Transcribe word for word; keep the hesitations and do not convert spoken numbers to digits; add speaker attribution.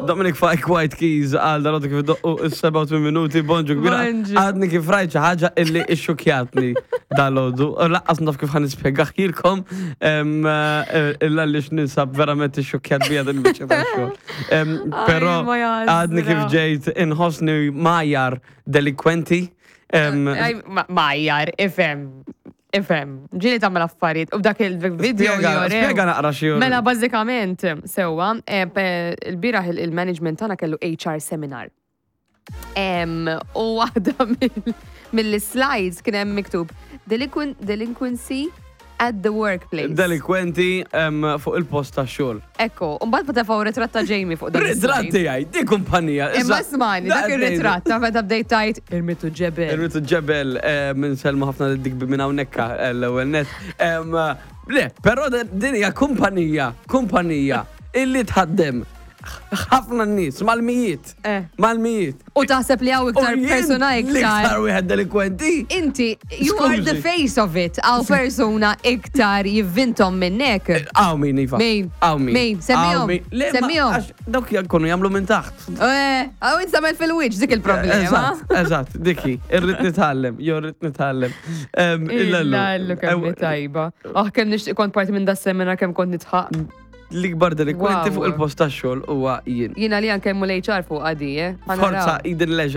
Speaker 1: Dominic Fike, White Keys, għal dal kif doqqu is-sebgħa u tmien minuti, bonġu kbira.
Speaker 2: Bonġu.
Speaker 1: Għadni kif rajt xi ħaġa illi ixxukjatni dal-għodu. U lanqas naf kif ħa nispjegahielkom illa li x'ninsab verament ixxukjat bija din il-biċċa tax-xogħol. Em, Però
Speaker 2: ma jażra.
Speaker 1: għadni kif ġejt inħossni mgħajjar delinkwenti. Em,
Speaker 2: Aj, ma- Mgħajjar, ifhem, ifhem. Ġieli tagħmel affarijiet u dak il-video
Speaker 1: Spjega,
Speaker 2: jorew.
Speaker 1: spjega naqra xi
Speaker 2: Mela, bażikament, sewwa, eh, pe- il-bieraħ il- il-management tagħna kellu H R seminar. Em, U waħda mill- mill-slides kien hemm miktub "Delinquen- "Delinquency at the workplace."
Speaker 1: Delinkwenti em, fuq il-post tax-xogħol.
Speaker 2: Ekku, u mbagħad tefgħu ritratt ta' Jamie fuq dan
Speaker 1: Ritratt
Speaker 2: il-slide.
Speaker 1: tiegħi, di kumpanija.
Speaker 2: Imma
Speaker 1: issa-
Speaker 2: smani, dak
Speaker 1: Da-
Speaker 2: ir-ritratt ta' meta bdejt tajt irmitu ġebel.
Speaker 1: Irmitu ġebel, eh, minn selma ħafna dik minn hawnhekk eh, l-ewwel net. Em, Le, però din hija kumpanija, kumpanija illi tħaddem ħafna nies mal-mijiet.
Speaker 2: Eh.
Speaker 1: Mal-mijiet.
Speaker 2: U taħseb li hawn iktar
Speaker 1: U jien
Speaker 2: persuna iktar.
Speaker 1: L-iktar wieħed delinkwenti.
Speaker 2: Inti, you are the
Speaker 1: Skużi.
Speaker 2: face of it. Hawn persuna iktar jivvintom minnek.
Speaker 1: Hawn min, Iva.
Speaker 2: Min?
Speaker 1: Hawn min.
Speaker 2: Min? Semmihom.
Speaker 1: Hawn min. Le, ma-
Speaker 2: Semmihom.
Speaker 1: għax dawk jkunu jagħmlu minn taħt.
Speaker 2: Eh, hawn inti fil-wiċċ dik il-problema.
Speaker 1: Eżatt, eżatt, diki, irrid nitgħallem, jo rrid nitgħallem. Em,
Speaker 2: Illa,
Speaker 1: illallu.
Speaker 2: kemm hi tajba. Oh, kemm nixtieq kont parti minn da seminar, kemm kont nidħaq.
Speaker 1: L-ikbar delinkwenti
Speaker 2: Wow.
Speaker 1: fuq il-post tax-xogħol huwa jien.
Speaker 2: Jiena li anke l-H R fuq għadi, eh?
Speaker 1: Forza Eden Leisure.